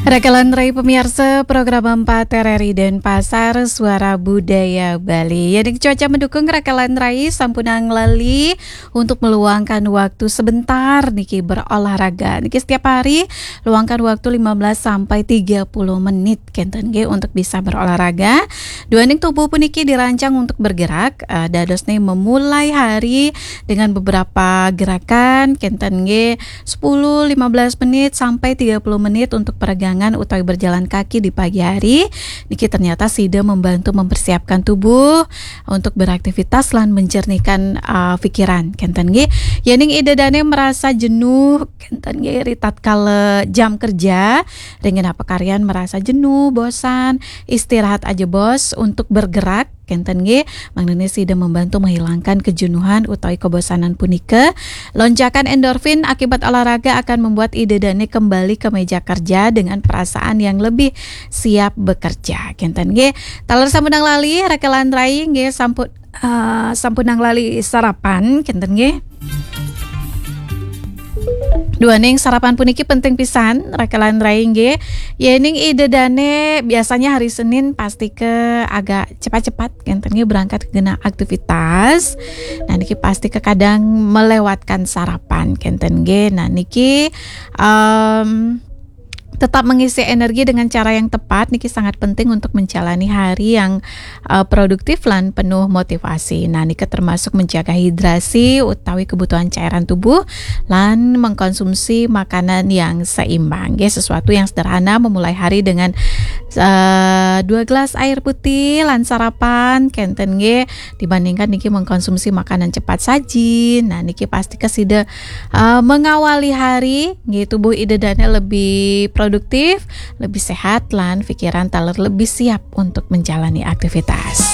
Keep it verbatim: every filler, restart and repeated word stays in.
Rakalan rai pamiarsa program empat R R I Denpasar, Suara Budaya Bali. Ya, ning cuaca mendukung, rakalan rai sampunang lali untuk meluangkan waktu sebentar niki berolahraga. Niki setiap hari luangkan waktu lima belas sampai tiga puluh menit kenten nggih untuk bisa berolahraga. Duaning tubuh puniki dirancang untuk bergerak, eh, dados nih memulai hari dengan beberapa gerakan kenten nggih sepuluh, lima belas menit sampai tiga puluh menit untuk peregangan utawi berjalan kaki di pagi hari. Niki ternyata sida membantu mempersiapkan tubuh untuk beraktivitas lan menjernihkan, uh, pikiran kenten nggih. Yening ida dane merasa jenuh kenten nggih ri tatkala jam kerja, ring genah pakaryan merasa jenuh, bosan, istirahat aja bos untuk bergerak kenten nggih, mangdane sida membantu menghilangkan kejenuhan utawi kebosanan punika. Lonjakan endorfin akibat olahraga akan membuat ida dane kembali ke meja kerja dengan perasaan yang lebih siap bekerja kenten nggih. Taler sampunang lali, rakalan rai nggih sampun, eh, sampunang lali sarapan kenten nggih. Duaning sarapan puniki penting pisan, rakalan rai nggih. Yening ida dane biasanya hari Senin pasti ke agak cepat-cepat kenten nggih berangkat ke genah aktivitas. Nah, niki pasti ke kadang melewatkan sarapan kenten nggih. Nah, niki, em, tetap mengisi energi dengan cara yang tepat niki sangat penting untuk menjalani hari yang, eh, produktif lan penuh motivasi. Nah, niki termasuk menjaga hidrasi utawi kebutuhan cairan tubuh lan mengkonsumsi makanan yang seimbang. Nggih, sesuatu yang sederhana memulai hari dengan, eh, dua gelas air putih lan sarapan kenten nggih, dibandingkan niki mengkonsumsi makanan cepat saji. Nah, niki pasti ke sida, eh, mengawali hari nggih, tubuh ida dane lebih produktif, lebih sehat lan pikiran taler lebih siap untuk menjalani aktivitas.